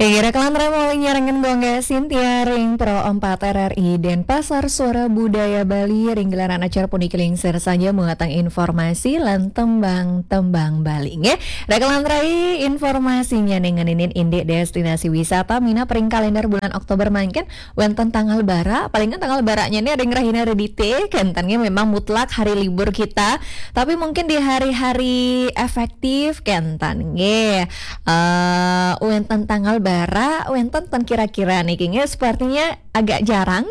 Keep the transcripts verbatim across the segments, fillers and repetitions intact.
Inggih, rekan lantaran malih nyarengin Gongga Sintia ring Pro empat R R I Denpasar, Suara Budaya Bali, ring gelaran acara puniki lingsir saja muatan informasi lan tembang-tembang Bali. Nggih, rekan lantaran, informasinya ning ngeninin indik destinasi wisata minab ring kalender bulan Oktober mangkin wenten tanggal bara, palingan tanggal baranya ini ring rahina Redite, kenten nggih memang mutlak hari libur kita, tapi mungkin di hari-hari efektif kenten nggih. Eh, wenten tanggal bara, wenten ten kira-kira niki nggih, sepertinya agak jarang.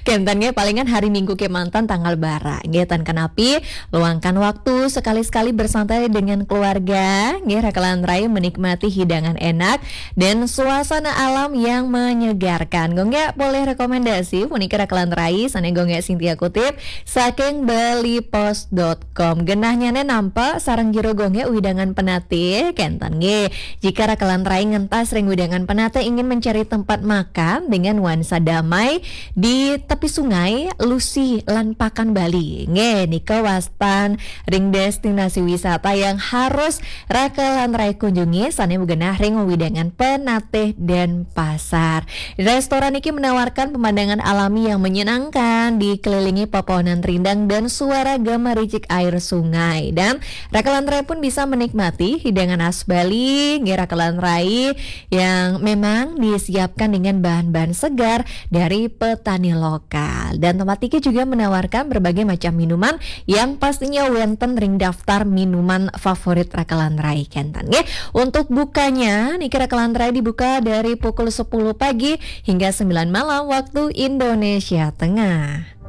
Kenten nggih, palingan hari Minggu kemanten tanggal bara. Nggih, ten kenapi, luangkan waktu sekali-sekali bersantai dengan keluarga. Nggih, rekan lantaran menikmati hidangan enak dan suasana alam yang menyegarkan. Gongga boleh rekomendasi, puniki rekan lantaran, sane Gongga Sintia kutip, saking bali post dot com. Genahnyane nampak sareng jero Gongga widangan penatih, kenten nggih. Jika rekan lantaran ngentas ring widangan penatih ingin mencari tempat makan dengan nuansa damai di tepi sungai, Lusi lan Pakan Bali. Nggih, nika wastan ring destinasi wisata yang harus rekan lantaran kunjungi, sane magenah ring widangan penatih Denpasar. Restoran iki menawarkan pemandangan alami yang menyenangkan, dikelilingi pepohonan rindang dan suara gemericik air sungai. Dan rekan lantaran pun bisa menikmati hidangan khas Bali, nggih, rekan lantaran, yang memang disiapkan dengan bahan-bahan segar dari petani lokal. Dan tempat iki juga menawarkan berbagai macam minuman yang pastinya wenten ring daftar minuman favorit rekan lantaran, kenten nggih. Untuk bukanya, niki rekan lantaran dibuka dari pukul sepuluh pagi hingga sembilan malam waktu Indonesia Tengah.